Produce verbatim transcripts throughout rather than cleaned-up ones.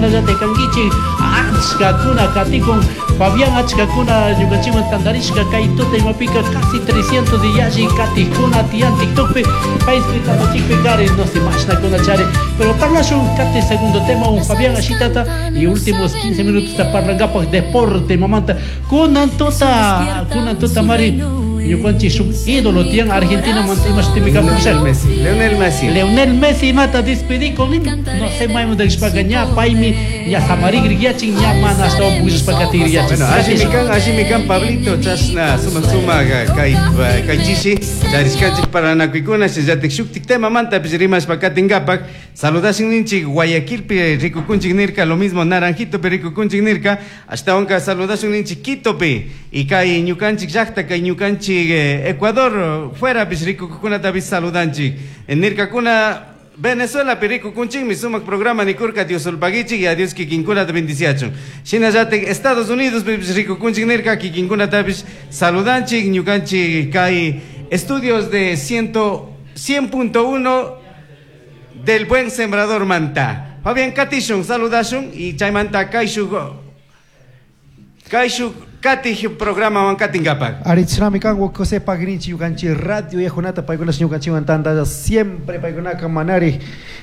Parlallate kankichik, achkakuna katikun Fabián, achkakuna ñukanchikwan tantarishka kay tuta imapika casi trescientos yalli katikuna tiyan TikTokpi, Facebook tapachikpi kari, no sé, mashnakuna chari. Pero parlashun kati segundo tema un Fabián ashitata y últimos quince minutos ta parlangapaj deporte mamanta. Kunan tuta, kunan tuta mari ñukanchik shuk ídolo tiyan Argentina manta imashtimi Leonel Messi, Leonel Messi. Leonel Messi mata despedí con él. No sé, maymun rishpaka ña paymi ña samarigrigyachin, ña mana ashtawan pukllashpa katigriyachin. Bueno, allimi kan, allimi kan Pablito, chashna sumak sumak kay kay chishi charishkanchik paranakuykuna shinallatik shuktik temamantapish rimashpa katinkapak. Saludashin ninchik Guayaquilpi rikukunchik nirka, lo mismo Naranjitopi rikukunchik nirka, ashtawanka saludashun ninchik Quitopi y kay ñukanchik llakta, kay ñukanchik Ecuador fuerapish rikukukunatapish saludanchik. Nirkakuna Venezuela rikukunchikmi sumak programa nikurka, Dios sulpagichik y a Dios kikinkunata bendiciachun. Shinallatik Estados Unidos pipish rikukunchik nirka, kikinkunatapish saludanchik ñukanchik kay estudios de ciento, cien punto uno del Buen Sembrador Manta. Fabián Katishun saludashun y chaymanta kayshuk kayshuk katij programa wan katinkapak. Arichrami kan José Pagrinchi yukanchi radio yajunata paykuna ñukanchiwan tantalla siempre paykunaka manari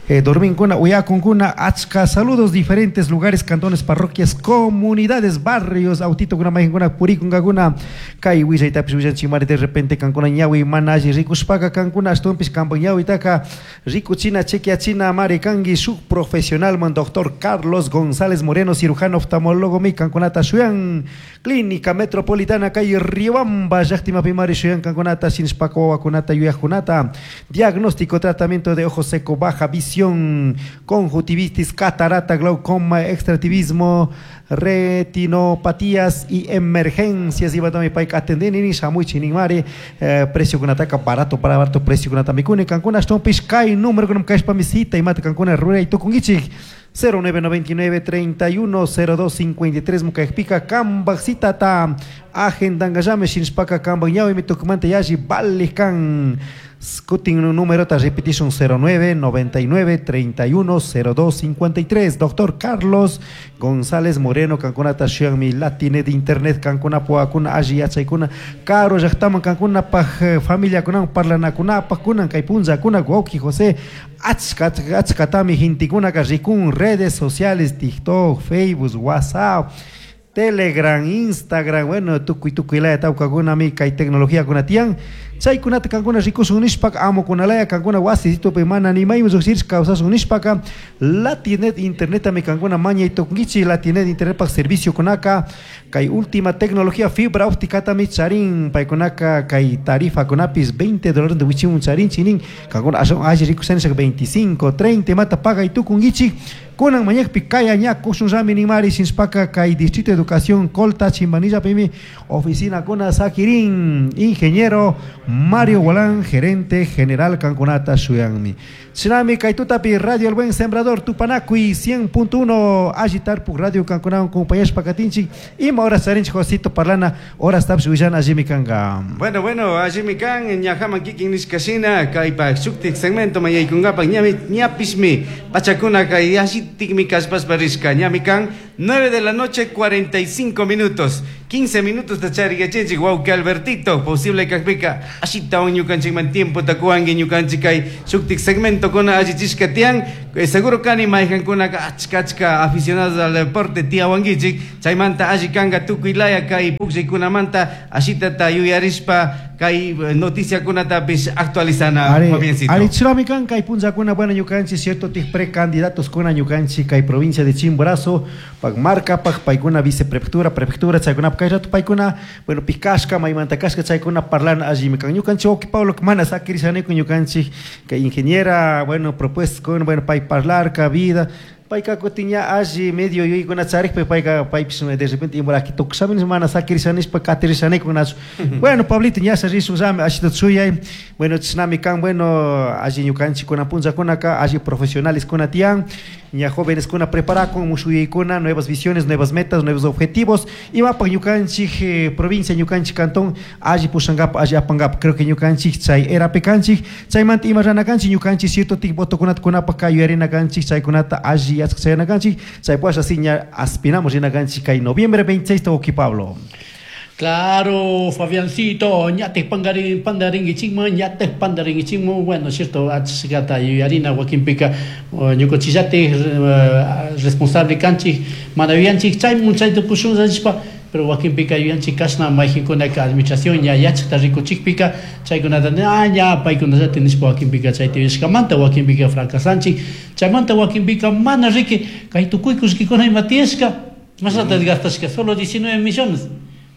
eh, dorminkuna uyakunkuna achka saludos diferentes lugares, cantones, parroquias, comunidades, barrios, autito kuna majinkuna purikunkakuna kay willaytapish willanchik mari de repente kankuna ñawi mana alli rikushpaka kankuna ashtawanpish kampak ñawitaka rikuchina chequeachina mari kanki shuk profesional man doctor Carlos González Moreno, cirujano oftalmólogo mi kankunata shuyan Clínica Metropolitana calle Riobamba llaqtimapi mari shuyan kankunata shinshpaka wawakunata yuyajkunata diagnóstico, tratamiento de ojo seco, baja visión, conjuntivitis, catarata, glaucoma, extractivismo, retinopatías y emergencias. Y batami payka atendeni shamuy mari eh, precio kunataka barato para barato precio kunata mikuni kankuna ashtawanpish kay número kunam kashpami cita imata kankuna ruray tukunkichik cero nueve noventa y nueve treinta y uno cero dos cincuenta y tres mukaypika kambaj citata agendangallame shinshpaka kambaj ñawimi tukumanta yalli valij kan. Kutin número ta repetition cero nueve noventa y nueve treinta y uno cero dos cincuenta y tres. Doctor Carlos González Moreno kankunata shuyanmi Latinet internet kankuna puakuna alli yachaykuna caro llaqtaman kankunapaj familiakunawan parlanakunapaj kunan kay punllakuna wawqi José achka achkatami gentekunaka rikun redes sociales, TikTok, Facebook, WhatsApp, Telegram, Instagram, bueno, tukuy tukuy laya tawkakunami kay tecnología kunatiyan. Chaykunata kankuna rikusun nishpaka amukunalaya kankuna wasisitupi mana nimayman lluqshirishka kawsasun nishpaka Latinet internetami kankuna mañay tukunkichik. Latinet internetpak servicio kunaka kay última tecnología fibra ópticatami charin paykunaka kay tarifa kunapis veinte dólares de wichimun charin chinin kankuna ashwan alli rikusan nishaka veinticinco, treinta mata pagay tukunkichik. Kunan mañakpi kaya ña kushun rami nimari shinshpaka kay Distrito de Educación Colta Chimbanillapimi oficina kuna sakirin ingeniero Mario Gualán, gerente general kankunata shuyanmi. Chinami kay tutapi Radio El Buen Sembrador Tupanakuy cien punto uno Agitarpuk Radio kankunawan compañashpa katinchik ima horas charinchik Josito parlana horas tapsh willana allimi kanka. Bueno, bueno, allimi kan ñajaman kikin nishkashina kaypak shuktik segmento mayaykunkapak ñami ñapishmi pachakuna kay allitikmi kashpashpa rishka ñami kan nueve de la noche cuarenta y cinco minutos quince minutos tachariyachinchik wawqi Albertito posible kajpika ashitawan ñukanchikman tiempo takuwanki ñukanchik kay shuktik segmento kuna allichishka tiyan. Eh, seguro kani mayqankunaka achka achka aficionados al deporte tiyawankichik chaymanta alli kanka tukuy laya kay pukllaykunamanta ashitata yuyarishpa kay noticiakunatapis actualizana Ari, Fabiancito. Ari churami kan kay punllakuna bueno ñukanchik cierto tik precandidatos kuna ñukanchik kay provincia de Chimborazo pak marka pak paykuna viceprefectura prefectura chaykuna kay rato paykuna bueno pikashka maymanta kashka chaykuna parlana allimi kan ñukanchik wawqi Pablo mana sakirisaniku ñukanchik kay ingeniera bueno propuesta con bueno pay parlarka vida payka kutin ña alli medio yuyaykuna charikpi payka paypis de repente imuraki tukushamin mana sakirishanishpa katirishanikunachu. Bueno Pablito ña rishunllami ashita chuyay bueno chishnami kan bueno alli ñukanchik kuna punllakunaka alli profesionales kuna tiyan ña jóvenes kuna preparakun mushuyaykuna nuevas visiones, nuevas metas, nuevos objetivos imapaq ñukanchik, eh, provincia ñukanchik cantón alli pushankapa alli apankapa creo que ñukanchik chay erapi kanchik chaymanta ima rana kanchik ñukanchik cierto tik votokunata kunapaq kay yuyarina kanchik chaykunata alli alli yachaq chayanakanchik chaypasha así ña aspinamos rinakanchik kay noviembre veintiséis wawqi Pablo. Claro, Fabiancito, ñate pangarin, pandaringuichimmo, ñate pandaringuichimmo, bueno, cierto, achgata yuyarina wakinpika, ñukanchillate responsable kanchik, mana yuyanchik, chaymun chayta kushun pero wakinpika yuyanchik kashna mayqinkunaka administración ña yachaqta rikuchikpika, chaykunata ah, ña paykunallata nishpa wakinpika chayta yuyashkamanta, wakinpika fracasanchik, chaymanta wakinpika mana riki, kay tukuy kullkikuna ima tiyashka, mashnata gastashka, solo diecinueve millones.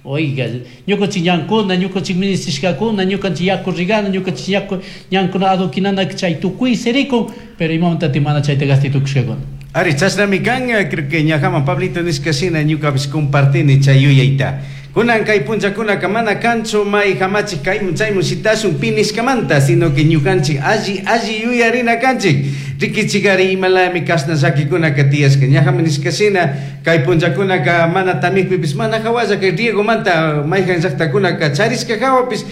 Oiga, ñukanchik ñankuna, ñukanchik ministrishkakuna, ñukanchik yaku rigana, ñukanchik yaku ñankuna adoquinana chay tukuy sirikun, pero imamantati mana chayta gastay tukushkakuna. Ari, chashnami kan, creo que ñajaman Pablito nishka shina ñukapish compartini chay yuyayta. Kunan kay punllakunaka mana kanchu may hamachik kaymun chaymun shitashun pi nishkamanta, sino que ñukanchik alli alli yuyarina kanchik. Rikichikari imalami kashna llakikunaka tiyashka. Ñajaman nishka shina kay punllakunaka mana tamikpipis mana hawalla kay riegomanta mayjan llaqtakunaka charishka hawapis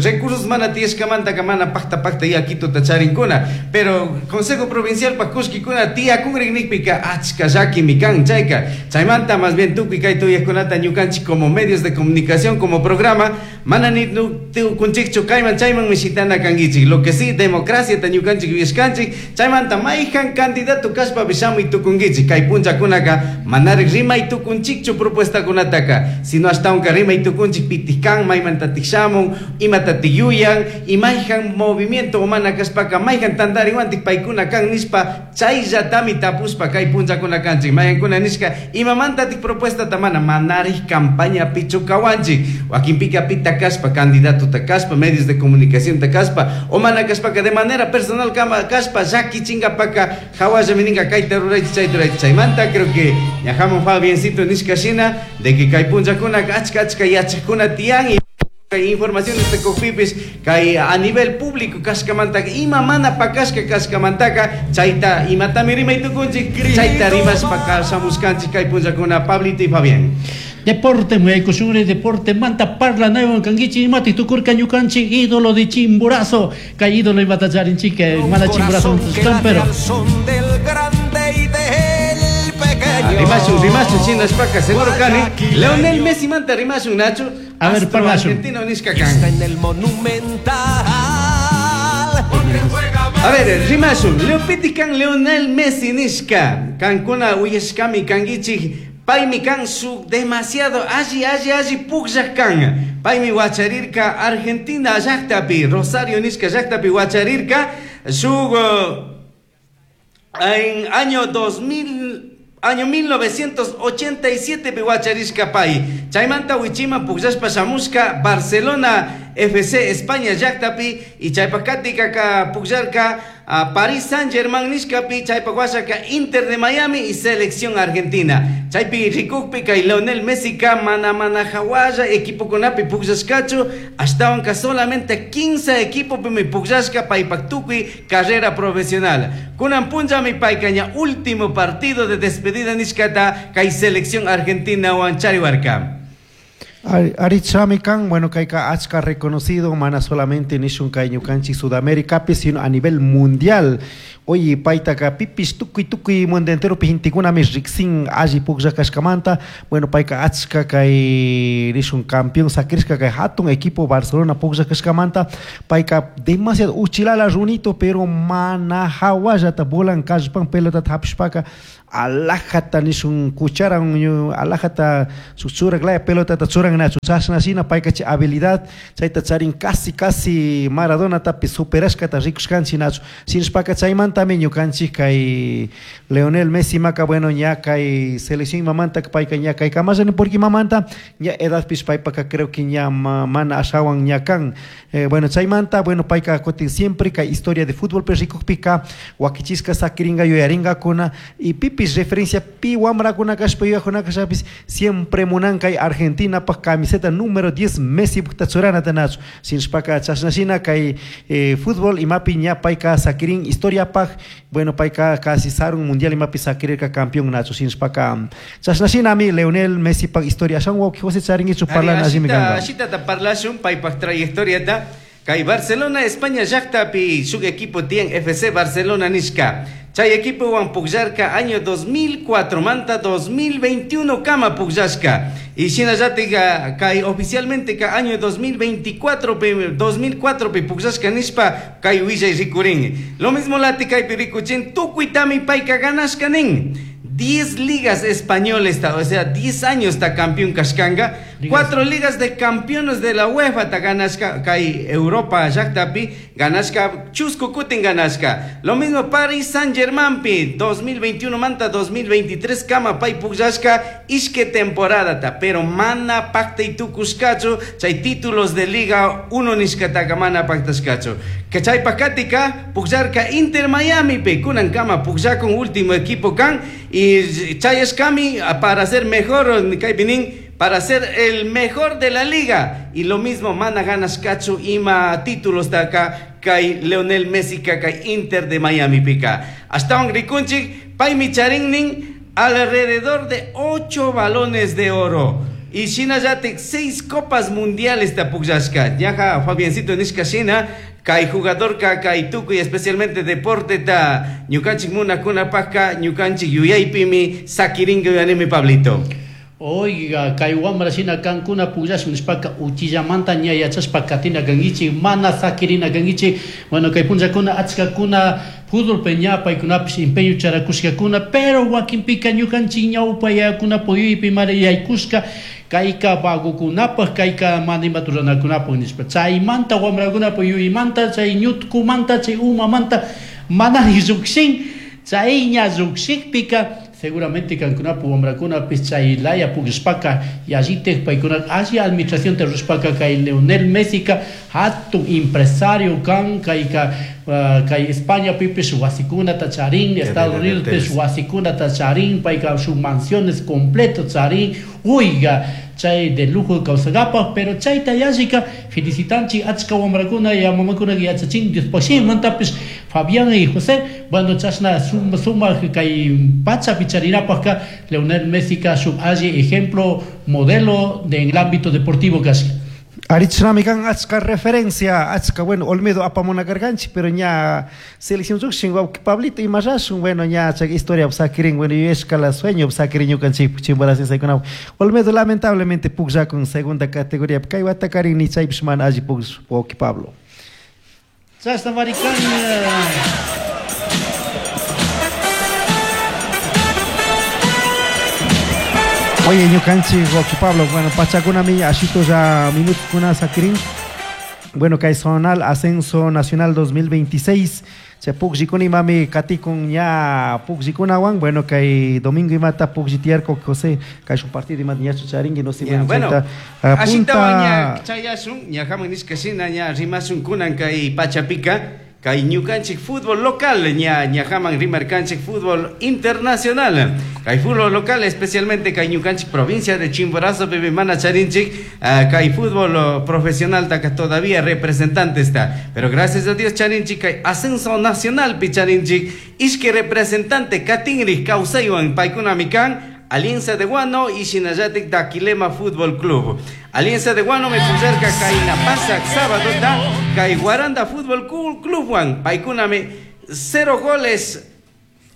recursos mana tiyashkamantaka mana pakta pakta yakituta charinkuna. Pero Consejo Provincial pa kullkikuna tiyakunrik nikpika achka llakimi kan chayka. Chaymanta más bien tukuy kay tuyajkunata ñukanchik como medios de comunicación, como programa, mana ni tukunchikchu kayman chayman mishitana kankichik. Lo que sí, democracia ta ñukanchik yuyashkanchik, chaymanta mayjan candidato kashpa shamuy tukunkichik. Kay punllakunaka manarik rimay tukunchikchu propuestakunataka, sino ashtawanka rimay tukunchik pitik kan, maymantatik shamun, imatatik yuyan, y mayjan movimiento mana kashpaka mayjan tantariwantik paykuna kan nishpa chayllatami tapuspa kay punllakuna kanchik. Mayjankuna nishka imamantatik propuestata mana manarik campaña pichukawanchik, wakinpika pita kashpa candidato ta kashpa, medios de comunicación ta kashpa, o mana kashpaka de manera personal kama kashpa llakichinkapaka hawalla mininka kayta ruraychik chayta ruraychik. Chaymanta creo que ñajaman Fabiancito nishka shina de que kay punllakunaka achka achka yachakuna tiyan y kay informaciones de kukpipis kay a nivel público kashkamantaka ima mana pakashka kashkamantaka chayta imatami rimay tukunchik chayta rimashpa kashamushkanchik kay punllakuna Pablito y Fabián. Deporte, muyaykushunri deporte manta parla nuevo kankichi imati tukurka ñukanchik ídolo de Chimborazo kay ídolo imata charinchik mana Chimborazo pero Rimashun, rimashun, shinashpaka seguro kani Leonel Messi manta rimashun Nacho. A ver, parlashun. Argentino nishka kan. Está en el Monumental. A ver, rimashun, Leopiti kan Leonel Messi nishka. Kankuna uyashkami kankichik. Paymi kan su demasiado alli alli alli pukllaq kan. Paymi wacharirka Argentina llaqtapi, Rosario nishka llaqtapi wacharirka shuk en año dos mil año mil novecientos ochenta y siete pi wacharishka pay. Chaymanta wichima pukllashpa shamushka Barcelona F C España llaqtapi y chaypakatika ka pukllarka a Paris Saint-Germain nishkapi, chaypak washaka Inter de Miami y selección argentina. Chaypi rikukpi kay Leonel Messi ka mana mana hawalla equipokunapi pukllashkachu, ashtawanka solamente quince equipopimi pukllashka paypak tukuy carrera profesional. Kunan punllami payka ña último partido de despedida nishkata kay selección argentina wan chariwarka. Arichami kan, bueno, kayka achka reconocido, mana solamente nishun kay ñukanchik Sudamérica, sino a nivel mundial. Oye, paytaka pipis tukuy tukuy mundo entero pintikunami riksin alli puklla kashkamanta. Bueno, payka achka kay nishun campeón sakrishka kay hatun equipo Barcelona puklla kashkamanta. Payka demasiado uchilala runito, pero mana hawallata bolan kallpan pelota hapishpaka alajata nishun cucharan alajata churak laya pelota churan nachu chashna shina payka chay habilidad chayta charin casi casi Maradona tapi superashkata rikushkanchik nachu shinashpaka chaymantami ñukanchik kay Leonel Messi maka bueno ña kay selección mamanta payka ña kay kamallani porque mamanta ña edadpish paypaka creo que ña mana ashawan ña kan eh, bueno chaymanta bueno payka kutin siempre kay historia de fútbol pe rikukpika wakichishka sakiringa yuyaringakuna y pipis referencia pi wamrakuna kashpa yuyakuna kashapis siempre munan kay Argentina pa camiseta número diez Messi pukta churanata nachu shinashpaka chashnashina kay eh, fútbol imapi ña payka sakirin historia paj bueno payka casi sarun mundial imapi sakirirka campeón nachu shinashpaka chashnashinami Leonel Messi pa historia ashan wawqi José charinkichu parlana allimi kanka. Ashitata parlashun paypaq trayectoriata kay Barcelona España llaqtapi shuk equipo tiyan F C Barcelona nishka. Chay equipowan pukllarka año dos mil cuatro manta dos mil veintiuno kama pukllashka. Y shinallatik kay oficialmente ka año dos mil veinticuatro pi, dos mil cuatro pi pukllashka nishpa kay willay rikurin. Lo mismo lati kaypi rikuchin tukuytami payka ganashka nin. diez ligas españoles, o sea, diez años está campeón kashkanga. Cuatro ligas de campeones de la UEFA ta ganashka, kay Europa llaktapi ganashka, chusku kutin ganashka. Lo mismo Paris Saint-Germain pi, dos mil veintiuno manta dos mil veintitrés kama pay pukllashka ishke temporada ta, pero mana paktay tukushkachu, chay títulos de Liga uno nishkataka mana paktashkachu. Que chay pakatika pukllarka Inter Miami pi, kunan kama pukllakun, último equipo kan y chayashkami para ser mejor, kaypi nin, para ser el mejor de la liga. Y lo mismo mana ganashkachu ima títulos taka kay Leonel Messi kay Inter de Miami pika. Ashtawan rikunchik, paymi charin nin alrededor de ocho balones de oro. Y shinallatik seis copas mundiales ta pukllashka. Ñaja Fabiancito nishka shina, kay jugador ka kay tukuy especialmente deporte ta ñukanchik munakunapakka ñukanchik yuyaypimi sakiringa yuyanimi, Pablito. Oiga, kay wamra shina kankuna pukllashun nishpaka uchillamanta ña yachashpa katina kankichik, mana sakirina kankichik. Bueno, kay punllakuna achkakuna fútbol ña paykunapish empeño charakushkakuna, pero wakinpika ñukanchik ñawpa yayakuna puyuypi mara yaykushka kayka vagokunapaj, kayka mana imata ruranakunapaj nishpa. Chaymanta wamrakunapa yuyaymanta, chay ñutkumanta, chay umamanta mana llukshin. Chay ña llukshikpika seguramente kankunapa wamrakunapish chay laya pukllashpaka yallitik paykuna alli administración rurashpaka kay Leonel Messica hatun empresario kan, kayka uh, kay España pipish wasikunata charin, Estados Unidos pish wasikunata charin, payka sus mansiones completo charin, oiga, chay de lujo kawsakapaj. Pero chayta yallika felicitanchik achka wamrakuna ya mamakuna yachachin Diospashimantapis Fabián y José. Bueno, chashna sumak kay pachapi charinapajka Leonel Messi ka shuk alli ejemplo, modelo de en el ámbito deportivo casi. Arichnami kan achka referencia, achka, bueno, Olmedo apamuna karkanchik, pero ña selección llukshin, wawqi Pablito, imarashun, bueno, ña chay historia sakirin, bueno, yuyashkala sueño sakirin ñukanchik Chimborazo. Olmedo lamentablemente pukllakun segunda categoría, kay watakarin ni chaypish mana alli pukllashpa, wawqi Pablo. Chashna marikan. eh, Oye, ñukanchik, wawqi Pablo, bueno, pachakunami ashitulla minutukuna sakirin. Bueno, kay zonal ascenso nacional dos mil veintiséis. Chay pukllikuna imami katikun ña pukllikunawan. Bueno, kay domingo imata puklli tiyarka, José, kay shuk partido imata ñachu charinki, no sé, Ya, bueno, bueno, chayta, ah, ashitawan ña punta chayashun, ñajaman nishka shina ña rimashun kunan kay pachapika, kay ñukanchik fútbol local, ña ñajaman rimarkanchik fútbol internacional. Kay fútbol local, especialmente kay ñukanchik provincia de Chimborazo, bebe mana charinchik, ah, kay fútbol oh, profesional taka todavía representante está. Pero gracias a Dios charinchik kay ascenso nacional pi charinchik, ishki representante katinri kawsaywan paykunami kan Alianza de Guano y shinallatik Daquilema Fútbol Club. Alianza de Guano me puserka kay na pasak sábado ta kay Guaranda Fútbol Club wan paykunami cero goles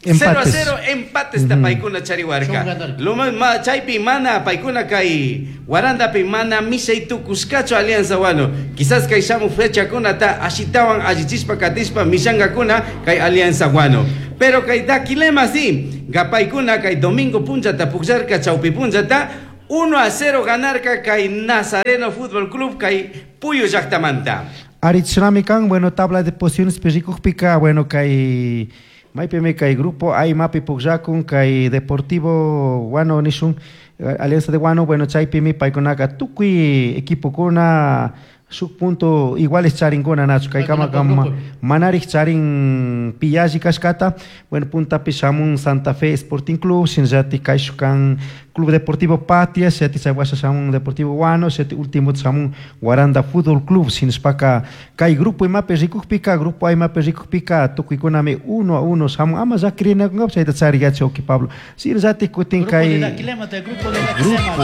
cero a Empates. cero empates ta paykuna chariwarka. Son ganar. Lo ma chaypi mana paykuna kay Guarandapi mana mishay tukushkachu Alianza Guano. Quizás kay shamu fecha kuna ta ashitawan allichispa katispa mishangakuna kay Alianza Guano. Pero kay Daquilema sí, gapaykuna kay domingo punchata pukllarka chawpi punchata uno a cero ganarka kay Nazareno Fútbol Club kay Puyo llaktamanta. Arichnami kan, bueno, tabla de posiciones rikukpika, bueno, kay maypimi kay grupo A imapi pukllakun kay Deportivo Guano nishun, eh, Alianza de Guano, bueno, chaypimi paykunaka tukuy equipokuna shuk punto iguales charinkuna nachu kay kama Paykunapa kama grupo. manarik charin pillashi kashkata. Bueno, puntapi shamun Santa Fe Sporting Club, shinallatik kayshuk kan Club Deportivo Patria, shinallatik chay washa shamun Deportivo Guano, shinallatik último shamun Guaranda Fútbol Club. Shinashpaka kay grupo imapi rikukpika, grupo A imapi rikukpika, tukuykunami uno a uno shamun, ama llakirinakunkapish chayta chariyachi, wawqi Pablo. Shinallatik kutin Grupo de kay Daquilema, del grupo de Daquilema. Grupo